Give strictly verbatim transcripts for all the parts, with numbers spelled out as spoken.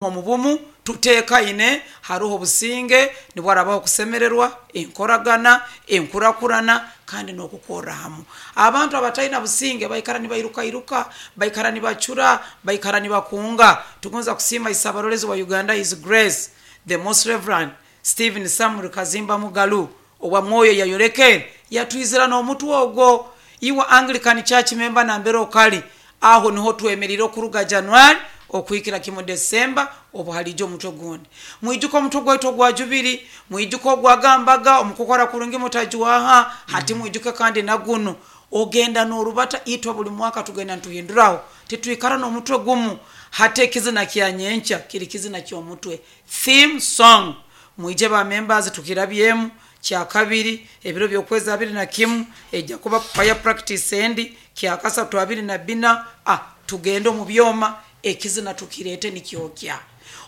Omu bumu tutekaine, haroho obusinge, nibwo harabaho okusemererwa, enkoragana, enkurakurana kandi n'okukorra hamu. Abantu abataina businge baikara nibairukairuka, baikara nibacura, baikara nibakunga. Tugonza kusiima Isabarolezi wa Uganda, His Grace the Most Reverend Stephen Samuel Kazimba Mugalu, owa Mwoyo yayolekere yatwizira n'omutwe ogwo. Iwe Anglican Church member, nambere okali aho niho twemerire okuruga January okuhikira kimu Desemba, obu haliija omutwe gundi. Mwijuke omutwe gwaitu ogwa Jubiri, mwijuke ogwagambaga omukukora kurungi mutajwaha. Hati mwijuke kandi nagunu ogenda n'orubata. Itwe buli mwaka tugenda nituhinduraho, titwikara n'omutwe gumu. Hati ekizina kya nyenkya kiri kizina ky'omutwe, theme song. Mwije ba members, tukirabyemu kyakabiri ebiro by'okwezi abiri na kimu, ejja kuba choir practice endi kyakasatu abiri na bbina. Ah, tugende omu byoma, ekizina tukirete nikyokya.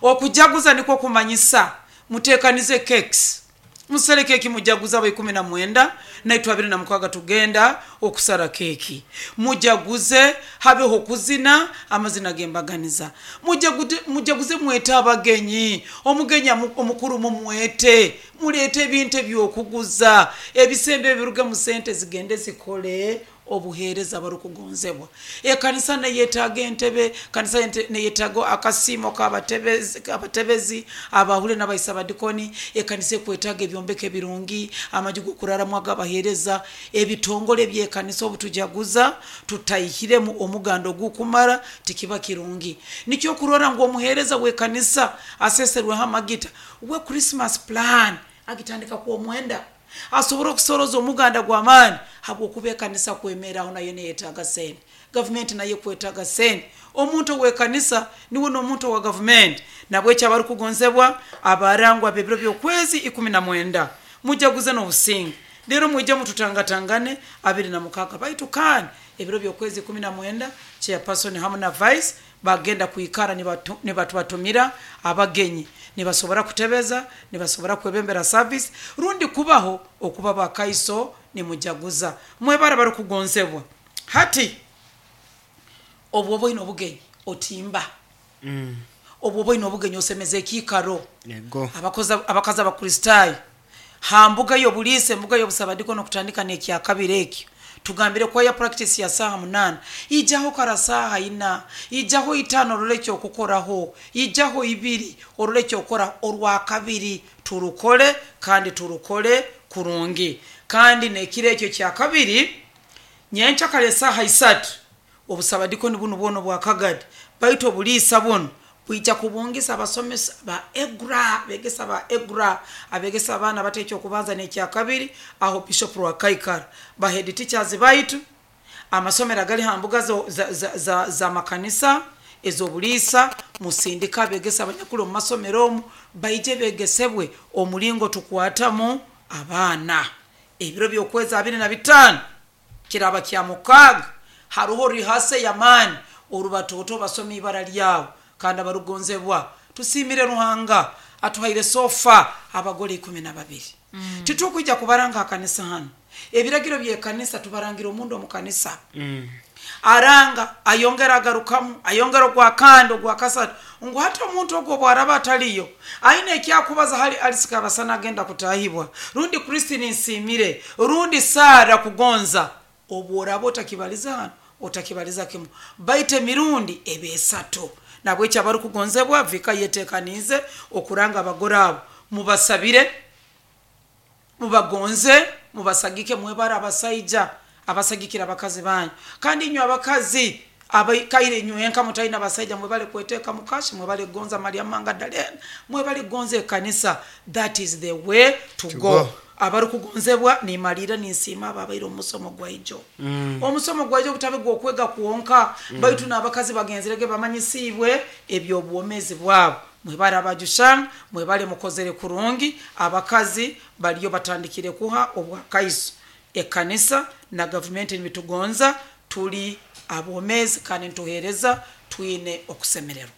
Okujaguza nikwo kumanyisa mutekanize cakes, musale keki, mujaguza abo ikumi na mwenda, naitwe abiri na mukaaga tugenda okusara keki. Mujaguze, habeho okuzina amazina g'embaganiza. Mujaguze, mujaguze, mwete abagenyi. Omugenyi omukuru mumwete, muleete ebintu ebyokuguza, ebisembo ebiruge mu sente zigende zikole obuheereza. Barukugonzebwa, ekanisa neyetaaga entebe, kanisa neyetaaga akasiimo k'abatebezi, abahule n'abaisa abadikoni. Ekanisa ekwetaaga ebyombeko ebirungi, amaju g'okuraramu ag'abaheereza, ebitongole by'ekanisa. Obu tujaguza tutaihiremu omuganda ogukumara, tikiba kirungi. Nikyo kurora ngu omuheereza w'ekanisa aseserweho amagita, we Christmas plan agitandika kwomwenda, asobora okusoroza omuganda gw'amaani, habwokuba ekanisa kwemeraho nayo neyetaaga sente, gavumenti nayo ekwetaaga sente. Omuntu ow'ekanisa niwe n'omuntu owa gavumenti. Nabweki, abarukugonzebwa, abarangwa b'ebiro by'okwezi ikumi na mwenda, mujaguze n'obusinge, rero mwije mututangatangane abiri na mukaaga. Baitu kandi ebiro by'okwezi ikumi na mwenda, chairperson hamu na vice bagenda kwikara nibatubatumira abagenyi. Nibasobora kutebeza, nibasobora kwebembera service rundi kubaho okuba bakaiso nimujaguza. Mwebara barukugonzebwa. Hati obu oba oine obugenyi, otimba, Mm. obu oba oine obugenyi, osemeza ekiikaro. Yego. Abakazi Abakristaayo ha mbuga y'obuliisa, embuga y'obusabadiko, nokutandika n'ekyakabiri ekyo tugambire choir practice ya saaha munaana, ijaho kara saaha ina, ijaho itaano, orole ekyokukoraho, ijaho ibiri, orole ekyokukora. Orwakabiri turukole kandi turukole kurungi. Kandi nekiro ekyo kyakabiri nyenkya kare esaaha isatu, obusabadikoni bunu bwona obwakagadi, baitu obuliisa bunu bwija kubungisa abasomesa ba EGRA, begesa ba EGRA, abegesa abaana bato ekyokubanza n'ekyakabiri, aho Bishop Rwakaikara, ba head teachers baitu, amasomero agali ha mbuga za, za, za, za makanisa ez'obuliisa, musindika abegesa abanyakuli omu masomero omu, baije begesebwe omulingo tukwatamu abaana. Ebiro by'okwezi abiri na bitaano kiraba kya mukaaga, haroho rehearsal y'amaani, orubatoto basoma ibara lyabo. Kandi abarugonzebwa, tusiimire Ruhanga atuhaire so far abagole ikumi na babiri. mm. Titukwija kubaranga akanisa hano, ebiragiro by'ekanisa tubarangira omundu omu kanisa. Mm. Aranga, ayongera agarukamu, ayongera ogwakandi, ogwakasatu, ngu hati omuntu ogwo obwaraba ataliyo aine ekyakubaza hali Alisika Abasana agenda kutahibwa, rundi Kristini Nsiimire, rundi Sara Kugonza, obworaba otakibaliza hano, otakibaliza kimu, baitu emirundi eba esatu. Nabweki, abarukugonzebwa, vika yetekaniize okuranga abagore abo. Mubasabire, mubagonze, mubasagike. Mwebara abasaija abasagikira abakazi banyu. Kandi inywe abakazi abaikaire inywenka mutalina abasaija, mwebale kweteeka mukashi, mwebale kugonza Mariamu Mangadalena, mwebale kugonza ekanisa. That is the way to To go. go. Abarukugonzebwa, nimalira ninsiima abo abaire omusomo gwaijo. Mm. Omusomo gwaijo gutabe gwokwega kwonka, baitu n'abakazi bagenzerege bamanyisiibwe ebyobwomezi bwabo. Mwebale abajushanga, mwebale, mukozere kurungi. Abakazi baliyo batandikire kuha obwakaiso. Ekanisa na gavumenti nibitugonza, tuli abomezi kandi nituheereza twine okusemererwa.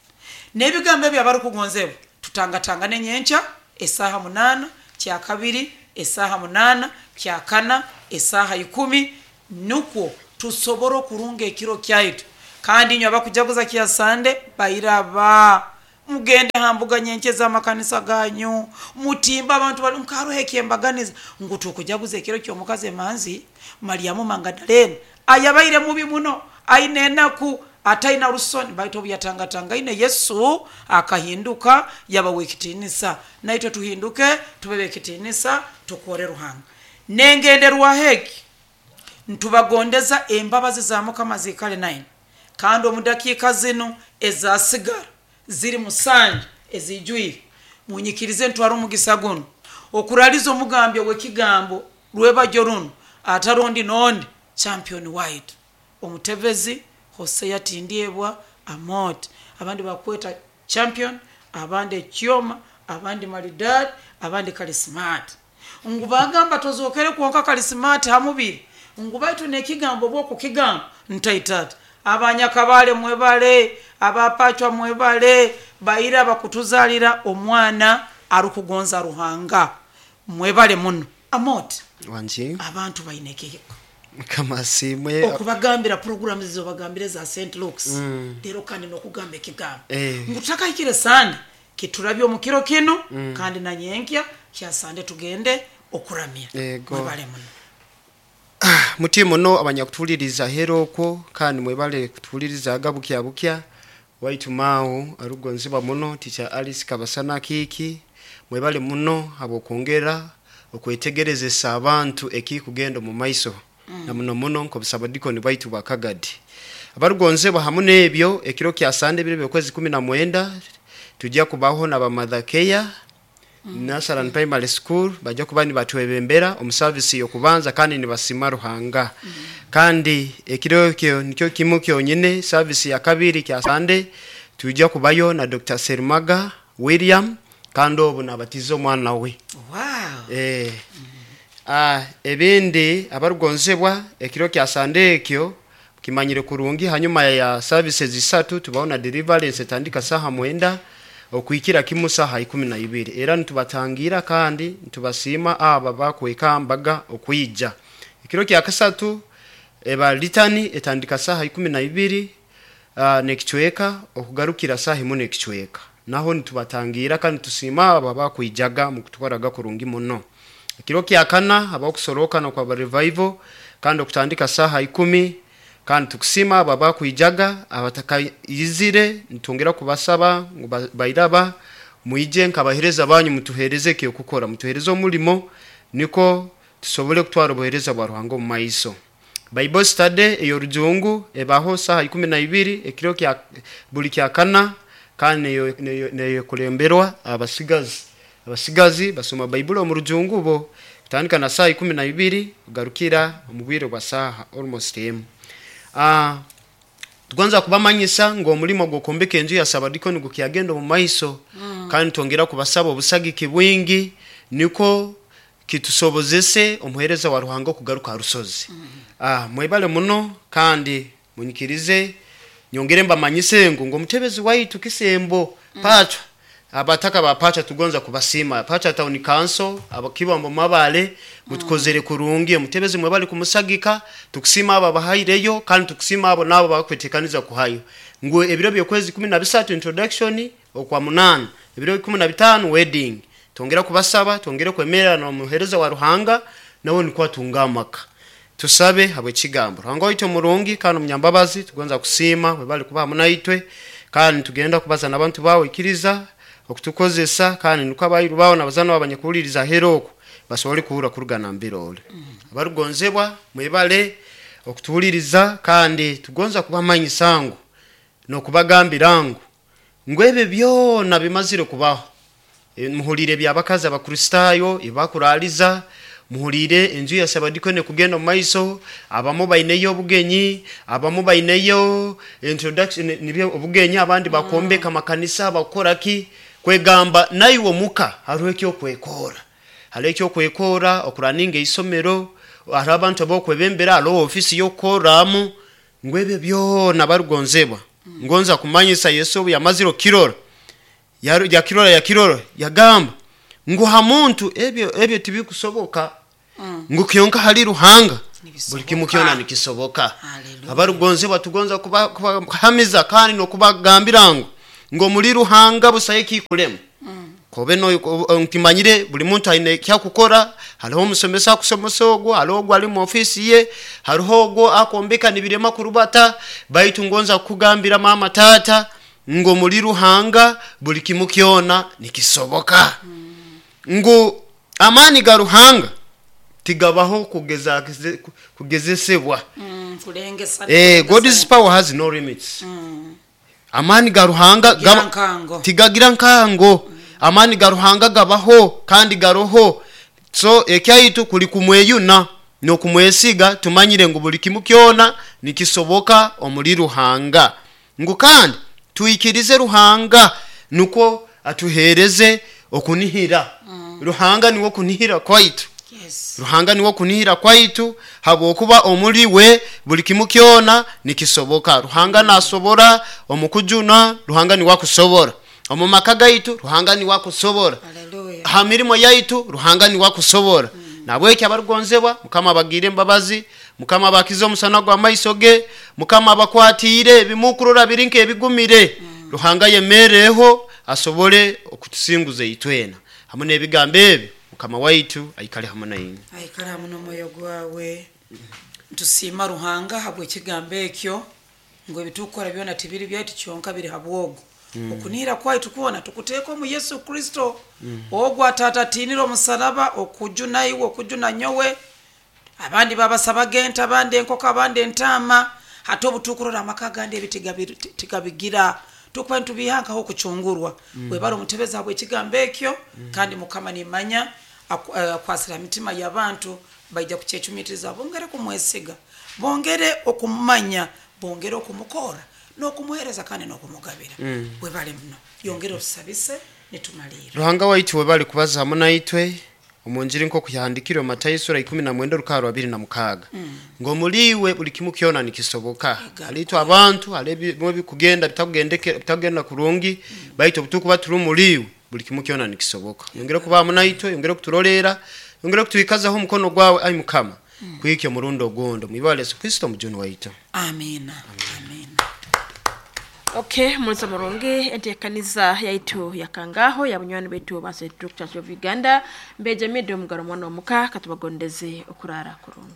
N'ebigambo ebyo, abarukugonzebwa, tutangatangane nyenkya esaaha munaana, kyakabiri esaaha munaana, kyakana esaaha ikumi, nukwo tusobora okurunga ekiro kyaitu. Kandi inywe abakujaguza kya Sande, bairaba. Mugende hambuga nyenche z'amakanisa ganyu, mutimba abantu bali nkaruho ekyembaganiza ngu tukujaguza ekiro ky'omukazi emanzi Mariamu Magdalene ayabaire mubi muno, aine enaku, ataina rusoni, baitu obu yatangatangaine Yesu akahinduka yaba w'ekitinisa. Naitwe tuhinduke tube b'ekitinisa, tukore Ruhanga. Nengenderwaho egi ntubagondeza embabazi za Mukama ziikale naine, kandi omu dakiika zinu ezasigara ziri musanju ezijwire, munyikirize ntware omugisa guno okuraliza omugambyo w'ekigambo rwebajo runo atarondi nondi champion waitu omutebezi Hosea Tindyebwa Amooti. Abandi bakweta champion, abandi ekyoma, abandi maridadi, abandi kalisimati. Ngu bagamba tozokere kwonka kalisimati hamubiri, ngu baitu nekigambo bwokukigamba ntaitata. Abanyakabale mwebale, abapachwa mwebale, baira bakutuzalira omwana arukugonza Ruhanga, mwebale muno. Amooti, wanji abantu baine ekihika Mukama asiimwe. Okubagambira programu zizobagambire za Saint Luke's lero, kandi nokugamba ekigambo Eh. ngu tutakahikire sande kiturabye omu kiro kino, kandi na nyenkya kya sande tugende okuramya. Ego. Mwebale muno. Muti muno abanyakutuliriza hero okwo, kandi mwebale kutulirizaga bukya bukya. Waitu maawo arugonzibwa muno Teacher Alice Kabasana Kiiki, mwebale muno habwokwongera okwetegerezesa abantu ekikugenda omu maiso, na muno muno nk'obusabadikoni bwaitu bwa Kagadi. Abarugonzebwa, hamu n'ebyo, ekiro kya sande ebiro by'okwezi kumi na mwenda tujja kubaho na bamadhakeya Nasaran Primary School, bajja kuba nibatwebembera omu service y'okubanza kandi nibasima Ruhanga. Kandi ekiro ekyo nikyo kimu kyonyine. Service ya kabiri kya sande tujja kubayo na Doctor Sermaga William, kandi obu nabatiza omwana we. Wow. Eh, ah, ebindi abarugonzebwa, ekiro kya sande ekyo kimanyire kurungi, hanyuma ya services isatu tubaho na deliverance etandika saha mwenda okuikira kimu saha ikumi na ibiri. Era nitubatangira kandi nitubasiima aba bakwekambaga okwija. Ekiro kya kasatu eba litani etandika saha ikumi na ibiri uh, nekicweka okugarukira saha imu nekicweka. Naho nitubatangira kandi tusiima aba bakwijaga mukutwaraga kurungi muno. Ekiro kya kana habaho okusorokana kwa revival, kandi okutandika saha ikumi, kandi tukusima abo abakwijaga. Abatakayizire nitwongera kubasaba ngu ba- bairaba mwije nkabahereza banyu, mutuhereze ekyokukora, mutuhereze omulimo niko tusobole kutwara obuhereza bwa Ruhanga omu maiso. Bible study ey'orujungu ebaho saha ikumi na ibiri ekiro kya buli kya kana, kandi neyo- neyo- neyokulemberwa abasigazi. Abasigazi basoma Baibuli omu rujungu bo kutandika na saha ikumi na ibiri kugarukira omu bwire bwa saha almost emu. Ah, tugonza kubamanyisa ngu omulimo gw'okwombeka enju ya sabadikoni gukyagenda omu maiso, kandi twongera kubasaba obusagiki bwingi niko kitusobozese omuhereza wa Ruhanga okugaruka ha rusozi. Ah, mwebale muno, kandi munyikirize nyongere mbamanyise ngu ngu omutebezi waitu Kisembo Pachwa, abataka ba Pacha tugonza kubasima, Pacha Town Council, abakibambo mabale mutukozere kurungi. Omutebezi mwebale kumusagika, tukusima abo abahaireyo, kandi tukusima abo nabo bakwetekaniza kuhayo. Ngu ebiro by'okwezi kumi na bisatu introduction, okwa munana ebiro kumi na bitano wedding. Twongera kubasaba twongere kwemera n'omuhereza wa Ruhanga nawe niko atunga amaka. Tusabe habw'ekigambo. Ruhanga waitu omurungi kandi omunyambabazi, tugonza kusiima webale kuba hamu naitwe, kandi tugenda kubaza n'abantu bawe, ikiriza okutukozesa, kandi niko abayiru bawe nabazana bawe abanyakuhuliriza ahera okwo basobole kuhurra kuruga nambere ole. Abarugonzebwa, mwebale okutuhuliriza, kandi tugonza kubamanyisa ngu n'okubagambira ngu ngu ebyo byona bimazire kubaho. E, muhulire ebyabakazi abakristaayo ebakuraliza, muhulire enju ya sabadikoni kugenda omu maiso, abamu baineyo obugenyi, abamu baineyo introduction nibyo obugenyi, abandi bakombeka amakanisa, bakora ki kwegamba. Naiwe omuka hariho ekyokwekora, hariho ekyokwekora okuraninga eisomero, hariho abantu abokwebembera, hariho ofisi y'okukorramu. Ngu ebyo byona barugonzebwa, ngonza kumanyisa Yesu obu yamazire okukirora, Yaru- yakirora yakirora yagamba ngu ha muntu ebyo ebyo tibikusoboka, ngu kyonka hali Ruhanga buli kimu kyona nikisoboka. Hallelujah. Abarugonzebwa, tugonza kuba- kubahamiza kandi n'okubagambira ngu Ngo muri Ruhanga busayo ekikulema. Kobe no nkimanyire buli muntu aine kyakukora. Hariho omusomesa akusomesa ogwo, hariho ogwo ali mu ofisi ye, hariho ogwo akombeka nibirema kurubata. Baitu ngonza kukugambira mama, tata, ngo muri Ruhanga buli kimu kyona nikisoboka. Ngu amaani ga Ruhanga tigabaho kugeza kugezesebwa. Mm, kulengesa. Eh, God's power has no limits. Amaani ga Ruhanga Tigagira gaba- nkango. Tigagira nkango. Amaani ga Ruhanga gabaho kandi garoho. So ekyaitu kuli kumweyuna n'okumwesiga, tumanyire ngu buli kimu kyona nikisoboka omuli Ruhanga. Ngu kandi twikirize Ruhanga nukwo atuhereze okunihira. Ruhanga niwo kunihira kwaitu. Yes. Ruhanga niwo kunihira kwaitu, habwokuba omuli we buli kimu kyona nikisoboka. Ruhanga nasobora omukujuna, Ruhanga niwe akusobora omu maka gaitu, Ruhanga niwe akusobora Hallelujah. ha mirimo yaitu, Ruhanga niwe akusobora. Nabweki abarugonzebwa, Mukama abagiire embabazi, Mukama abakize omusana gw'amaiso ge, Mukama abakwatiire ebimukurora biri nk'ebigumire. Ruhanga yemereho asobole okutusinguza itwena. Hamwe n'ebigambo ebi, Mukama waitu aikale hamwe nainywe. Aikale hamu n'omwoyo gwawe. Ntusiima Ruhanga habw'ekigambo ekyo, ngu ebitukukora byona tibiri byaitu kyonka, biri habwogo. Okunihira kwaitu kwona tukuteeka omu Yesu Kristo, ogwo atatatinire omusalaba okujuna iwe, okujuna nyowe. Abandi babasabaga ente, abandi enkoko, abandi entaama. Hati obu tukurora amaka agandi ebi tigabi- tigabigira, tukuba nitubihankaho okucungurwa. Webale omutebezi habw'ekigambo ekyo. Kandi Mukama nimanya aku- eh, akwasira mitima y'abantu, baija kukyecumitiriza, bongere kumwesiga, bongere okumumanya, bongere okumukora n'okumuhereza kandi n'okumugabira. Webale muno, yongere otusabise nitumalira. Ruhanga waitu, webali kubaza hamwe naitwe omunjiri nk'oku yahandikirwe Matayo sura ikumi na mwenda orukara rwa abiri na mukaaga, ngo muliwe buli kimu kyona nikisoboka. Halitwe abantu hali ebimwe ebikugenda bitakugendeke, bitagenda kurungi, baitu obutukuba turi muliwe buli kimu kyona nikisoboka. Yongere kuba hamwe naitwe, yongere kuturoleera, yongere kutwikazaho omukono gwawe, ai Mukama, kwikyo omurundi ogundi, mwibara Yesu Kristo omujuni waitu. Amina, amina. Okay, munza murungi, enteekaniza yaitu yakangaho ya bunywani baitu ba Central Church of Uganda. Mbeja mido mugaro mwana omuka katubagondeze okurara kurungi.